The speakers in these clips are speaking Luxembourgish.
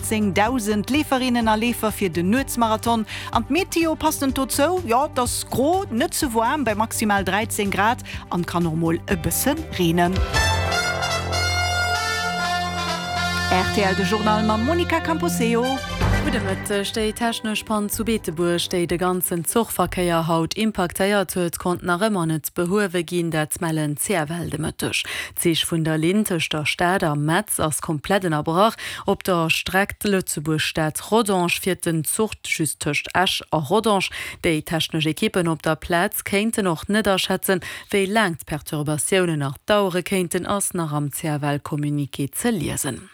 18.000 Leeferinnen a Leefer fir den Nuetsmarathon. An d'Meteo passend dozou, jo et ass gro, net ze waarm bei maximal 13 Grad an kann och mol e bësse reenen. Rtl de Journal mam Monica Camposeo. Gudde Mëtteg. Déi technesch Pann zu Beetebuerg, déi de ganzen Zuchverkéier haut impaktéiert huet, konnt nach ëmmer net behuewe ginn. Dat mellen d'CFL de Mëtteg. D'Zich vun der Linn tëscht der Stad a Metz ass komplett ënnerbrach. Op der Streck Lëtzebuerg-Stad-Rodange fiert den Zuch just tëscht Esch a Rodange. Déi technesch Ekippen op der Plaz kéinten och net aschätzen, wéi laang d'Perturbatiounen nach dauere kéinten, ass nach am CFL-Communiqué ze liesen.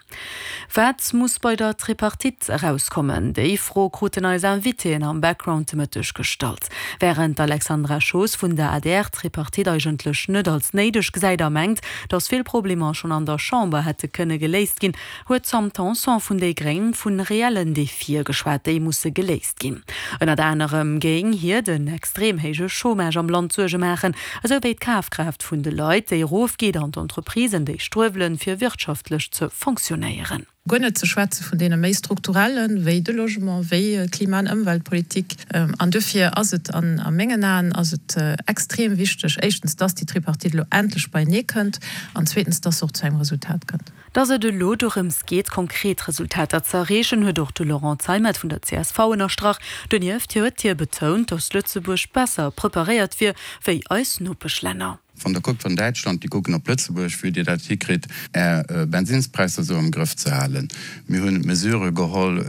Wat muss bei der Tripartite erauskommen? Déi Fro kruten eis Invitéen am Background de Mëtteg gestallt. Wärend d'Alexandra Schoos vun der adr d'Tripartite eigentlech net als néideg gesäit a mengt, datt vill Problemer schonn an der Chamber hätte kënne geléist ginn, huet d'Sam Tanson vun déi gréng vu reellen Defie geschwat, déi musse geléist ginn. Ënnert anerem géing hir den extrem héije Chômage am Land Suerge maachen, esou wéi d'Kafkraaft vun de Leit, déi erofgeet an d'Entreprisen, déi struewelen, fir wirtschaftlech ze fonctionnéieren. Guer net ze schwätze vun deene méi strukturellen, wéi de Logement, wéi d'Klima an Ëmweltpolitik. An duerfir ass et an a mengen Aen ass et extrem wichteg, éischtens, dass déi Tripartite elo endlech beienee kënnt an zweetens, dass se och zu engem Resultat kënnt. Datt et elo dorëms geet, konkret Resultater ze erreechen, huet och de Laurent Zeimet vun der csv ënnerstrach. Donieft huet hie betount, datt Lëtzebuerg besser preparéiert wier wéi eis Nopeschlänner. Wann Der kuckt, wann Däitschland, déi kucken op Lëtzebuerg, wéi Dir dat hikritt, Är Bensinnspräisser esou am Grëff ze halen. Mir hunn Mesurë geholl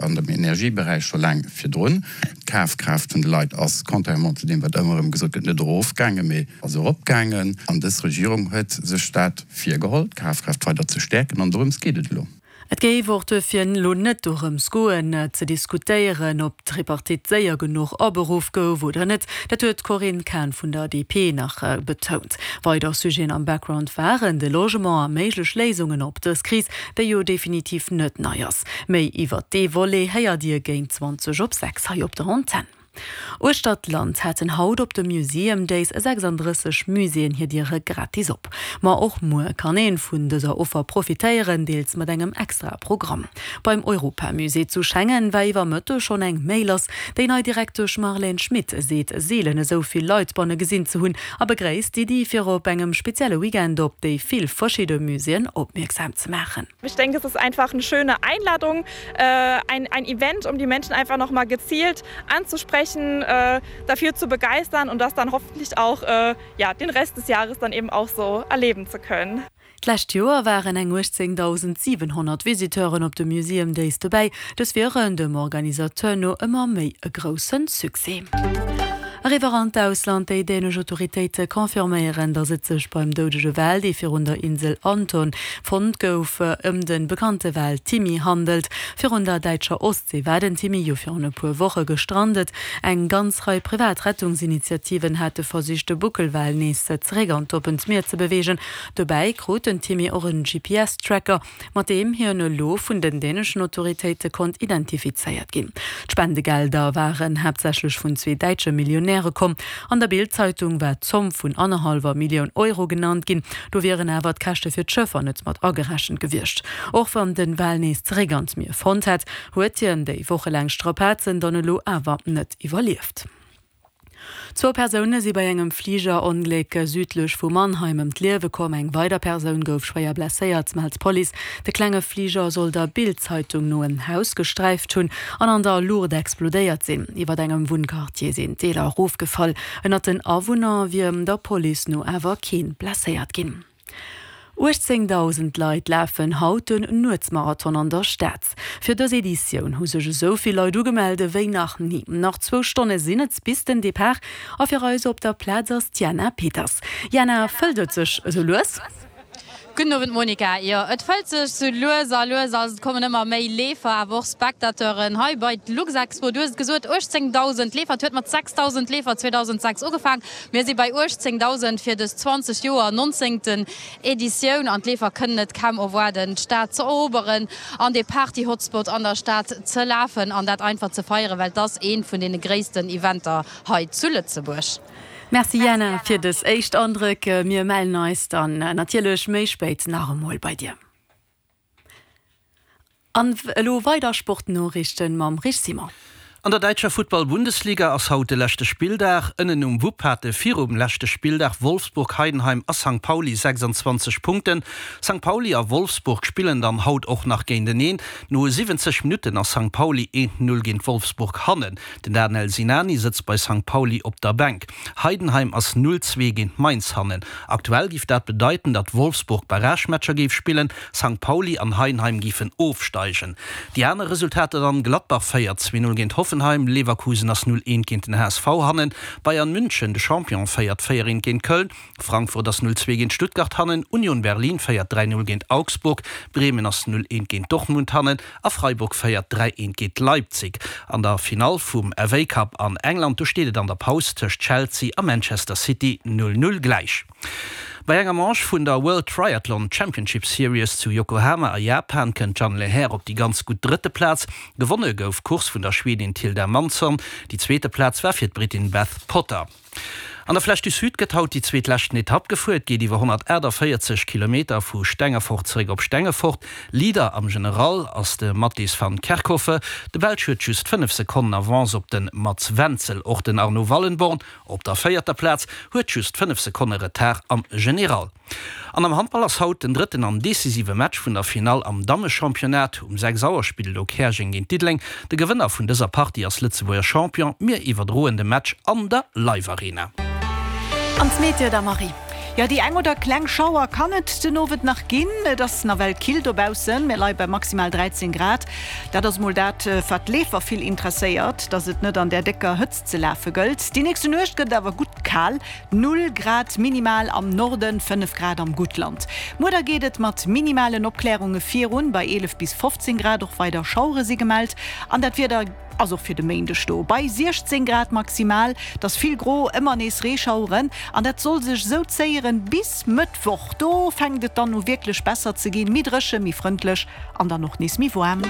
an dem Energieberäich scho laang virdrun. D'Kafkraaft vun de Leit ass, contrairement zu deem, wat ëmmer erëm gesot gëtt, net erofgaangen, mee ass eropgaangen. An dës Regierung huet sech dat virgeholl, d'Kafkraaft weider ze stäerken, an dorëms geet et elo. Et géif och duerfir elo net dorëms goen, ze diskutéieren, ob d'Tripartite séier genuch aberuff gouf oder net. Dat huet d'Corinne Cahen vun der DP nach betount. Weider Sujeten am Background waren de Logement a méiglech Léisungen op dës Kris, déi jo definitiv net nei ass. Méi iwwert dee Volet héiert Dir géint 20 op 6 hei op der Antenn. Uechter d'Land haten haut op de Museum Days 36 Muséeën hir Diere gratis op. Ma och muer kann een vun dëser Offer profitéieren, deels mat engem extra Programm. Beim Europamusée zu Schengen war iwwer Mëtteg schonn eng Méi lass. Déi nei Direktesch Marlène Schmit seet seelen esou vill Leit banne gesinn ze hunn a begréisst d'Iddi fir op engem spezielle Weekend op déi vill verschidde Muséeën opmierksam ze maachen. Ich denke, es ist einfach eine schöne Einladung, ein, ein Event, um die Menschen einfach noch mal gezielt anzusprechen, dafür zu begeistern und das dann hoffentlich auch ja, den Rest des Jahres dann eben auch so erleben zu können. D'lescht Joer waren eng 18.700 Visiteuren op de Museum Days dobäi. Dës wieren dem Organisateur no ëmmer méi e grousse Succès. Eriwwer an d'Ausland, Déi dänesch Autoritéite confirméieren, datt et sech beim doudege Wal, dee virun der Insel Anton fonnt gouf, ëm de bekannte Wal Timmy handelt. Virun der däitscher Ostsee war den Timmy jo virun e puer Woche gestrandet. Eng ganz Rei privat Rettungsinitiativen hate versicht, de Buckelwal nees zeréck an d'oppent Mier ze beweegen. Dobäi krut den Timmy och en GPS-Tracker, mat deem hien elo vun den däneschen Autoritéite konnt identifizéiert ginn. D'Spendegelder waren haaptsächlech vun zwee däitsche Millionäre komm. An der Bild-Zeitung war d'Zomm vun annerhallwer Millioun Euro genannt ginn. Do wieren awer d'Käschte fir d'Schëffer net mat agerechent gewiescht. Och wann den Wal nees zeréck an d'Mier fonnt hätt, huet hien déi wochelaang Strapazen dann elo awer net iwwerlieft. Zwou Persoune si bei engem Fligerongléck südlech vu Mannheim ëm d'Liewe komm. Eng weider Persoun gouf schwéier blesséiert, mellt d'Police. De klenge Fliger soll der Bild-Zeitung no en Haus gesträift hunn an an der Luucht explodéiert sinn. Iwwer engem Wunnquartier sinn Deeler erofgefall. Ënnert den Awunner wier der Police no awer kee blesséiert ginn. 18.000 Leit lafen haut den Nuetsmarathon an der Stad. Fir dës Editioun hu sech esou vill Leit ugemellt ewéi nach ni. Nach zwou Stonne sinn et bis den Depart a fir eis op der Plaz ass d'Jana Peters. Jana, fëllt et sech esou lues? Gudden Owend Monica. Jo, et fëllt sech sou lues a lues. Also et kommen ëmmer méi Leefer, awer och Spectateuren hei bei d'Luxexpo. Du hues et gesot, 18.000 Leefer. Et huet mat 6.000 Leefer 2006 ugefaang. Mir si bei 18.000 fir dës 20 Joer nonzéngten Editioun an d'Leefer kënnen et kaum erwaarden, d'Stad ze eroberen an dee Party-Hotspot an der Stad ze lafen an dat einfach ze feieren, well et ass eent vun deene gréissten Eventer hei zu Lëtzebuerg. Merci Jana fir dës éischt Andréck. Mir mellen eis dann natierlech méi spéit nach emol bei dir. An elo weider Sportnoriichten mam Rich Simon. An der däitscher Futtball-Bundesliga ass haut de leschte Spilldag. Ënnen um Wupp hate virum leschte Spilldag Wolfsburg, Heidenheim a Sankt Pauli 26 Punkten. Sankt Pauli a Wolfsburg spillen dann haut och nach géinteneen. No 70 Minutten ass Sankt Pauli 1, 0 géint Wolfsburg hannen. Den Danel Sinani sëtzt bei Sankt Pauli op der Bänk. Heidenheim ass 0, 2 géint Mainz hannen. Aktuell géif dat bedeiten, datt Wolfsburg Barragematcher géif spillen, Sankt Pauli an Heidenheim géifen ofsteigen. Déi aner Resultater dann, Gladbach féiert 2, 0 géint Hoffenheim, Leverkusen ass 0, 1 géint den HSV hannen, Bayern München, de Champion, féiert 4, 1 géint Köln, Frankfurt ass 0, 2 géint Stuttgart hannen, Union Berlin féiert 3, 0 géint Augsburg, Bremen ass 0, 1 géint Dortmund hannen a Freiburg féiert 3, 1 géint Leipzig. An der Finall vum FA Cup an England, do steet et an der Paus tëscht Chelsea a Manchester City 0, 0 gläich. Bei enger Manche vun der World Triathlon Championship Series zu Yokohama a Japan kënnt d'Jeanne Lehair op déi ganz gutt drëtte Plaz. Gewonne gouf d'Course vun der Schwedin Tilda Mansson. Déi zweete Plaz war fir d'Brittin Beth Potter. An der Flèche du Sud gëtt haut déi zweetleschten Etapp gefuer. Et geet iwwer 148 Kilometer vu Stengefort zeréck op Stengefort. Leader am General ass de Mattis van Kerkhove. De Belsch huet just 5 Sekonnen Avance op de Mats Wenzel. Och den Arno Wallenborn Op der véierter Plaz huet just 5 Sekonne Retard am General. An am Handball ass haut den drëtten an decisive Match vun der Finall am Dammechampionnat. Um 6 Auer spillt elo Käerjeng géint Diddeleng. De Gewënner vun dëser Partie ass Lëtzebuerger Champion. Mir iwwerdroen de Match an der Live Arena. An d'Meteo der Marie. Jo, déi eng oder kleng Schauer kann et den Owend nach ginn. Et ass nawell kill dobaussen, mir leie bei maximal 13 Grad. Dat ass mol dat, wat d'Leefer vill interesséiert, dass et net an där décker Hëtzt ze lafe gëllt. Déi nächste Nuecht gëtt et awer gutt kal, 0 Grad minimal am Norden, 5 Grad am Guttland. Muer da geet et mat minimalen Opklärunge virun, bei 11 bis 15 Grad. Och weider Schauere si gemellt an dat Wieder ass och fir de Méindeg do, bei 16 Grad maximal. Et ass vill gro, ëmmer nees Reeschaueren an dat soll sech esou zéieren bis Mëttwoch. Do fänkt et dann u wierklech besser ze ginn, méi dréche, méi frëndlech An dann och nees méi waarm.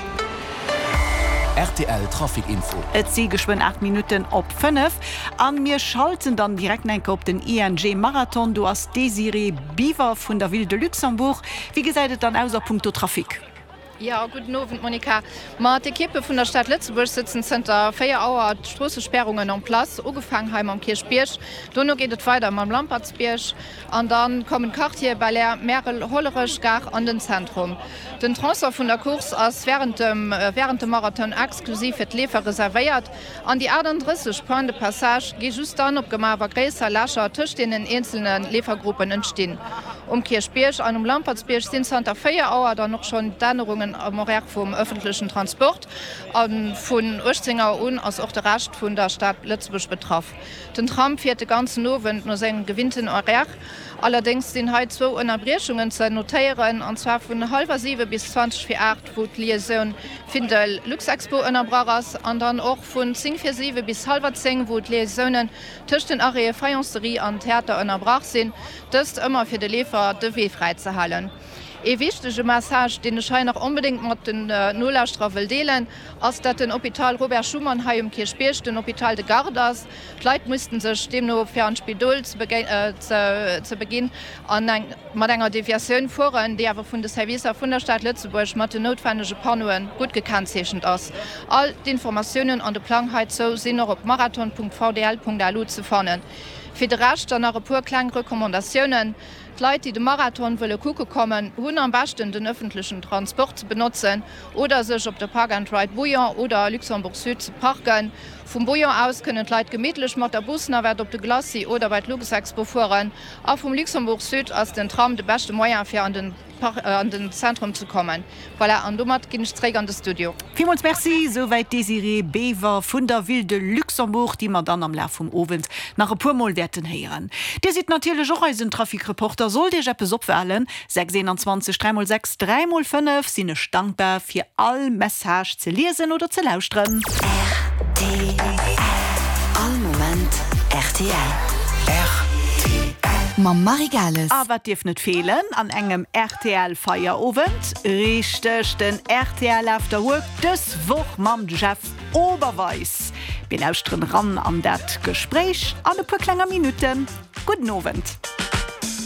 Rtl Trafic Info. Et si geschwënn 8 Minutten op 5 an mir schalten dann direkt enke op den ING Marathon. Do ass d'Désirée Biver vun der Ville de Luxembourg. Wéi gesäit et dann aus a punkto Trafic? Jo, gudden Owend Monica. Ma d'Ekippe vun der Stad Lëtzebuerg sëtzen zënter 4 Auer d'Stroossespärungen en place. Ugefaang hei mam Kierchbierg, dono geet et weider mam Lampertsbierg an da kommen d'Quartiere Belair, Märel, Hollerech, Gare an den Zentrum. Den Tronçon vun der Course ass wärend dem wärend dem Marathon exklusiv fir d'Leefer reservéiert an déi 38 Points de passage gi just dann opgemaach, wa gréisser Lächer tëscht deenen eenzelne Leefergruppen entstinn. Um Kierchbierg an um Lampertsbierg sinn zanter 4 Auer dann och schonn d'Ännerungen am Horaire vum ëffentlechen Transport a vun 18 Auer un ass och de Rescht vun der Stad Lëtzebuerg betraff. Den Tram fiert de ganzen Owend no sengem gewinnten Horaire. Allerdéngs sinn hei zwou Ënnerbriechungen ze notéieren, an zwar vun hallwer 7 bis 20 vir 8, wou d'Liaisoun Findel-Luxexpo ënnerbrach ass, an dann och vun 10 vir 7 bis hallwer 10, wou d'Liaisounen tëscht den Arrêtë Faïencerie an Theater ënnerbrach sinn, dëst ëmmer fir de Leefer de Wee fräi ze halen. Ee wichtege Message, deen ech hei nach onbedéngt mat den Nolauschterer wëll deelen, ass, dat den Hôpital Robert Schuman hei um Kierchbierg den Hôpital de garde ass. D'Leit missten sech deemno fir an d'Spidol ze beginn an eng mat enger Deviatioun fueren, déi awer vun de Servicer vun der Stad Lëtzebuerg mat den noutwennege Panneaue gutt gekennzeechent ass. All d'Informatiounen an de Plang heizou sinn och op marathon.vdl.lu ze fannen. Fir de Rescht dann nach e puer kleng Recommandatiounen. D'Leit, déi de Marathon wëlle kucke kommen, hunn am beschten den ëffentlechen Transport ze benotzen oder sech op de Park and Ride Bouillon oder Luxembourg Sud ze parken. Vum Bouillon aus kënnen d'Leit gemittlech mat der Busnavette op de Glacis oder bei d'Luxexpo fueren a vum Luxembourg Sud ass den Tram de beschte Moyen fir an den an den Zentrum ze kommen. Voilà, an domat ginn ech zréck an de Studio. Villmools Merci, souwäit d'Désirée Bever vun der Ville de Luxembourg, déi mer dann am Laf vum Owend nach e puer Mol wäerten héieren. Dir sidd natierlech och eisen Trafic-Reporter. Sollt Iech eppes opfalen, 6 21 3 mol 6 3 mol 5, sinn ech dankbar fir all Message ze liesen oder ze lauschteren. Rtl All Moment rtl. Rtl Mam Marie Gales. A wat dierf net feelen an engem rtl Feierowend? Richteg, den rtl After Work, dës Woch mam Jeff Oberweis. Mir lauschteren ran an dat Gespréich an e puer klenger Minutten. Gudden Owend.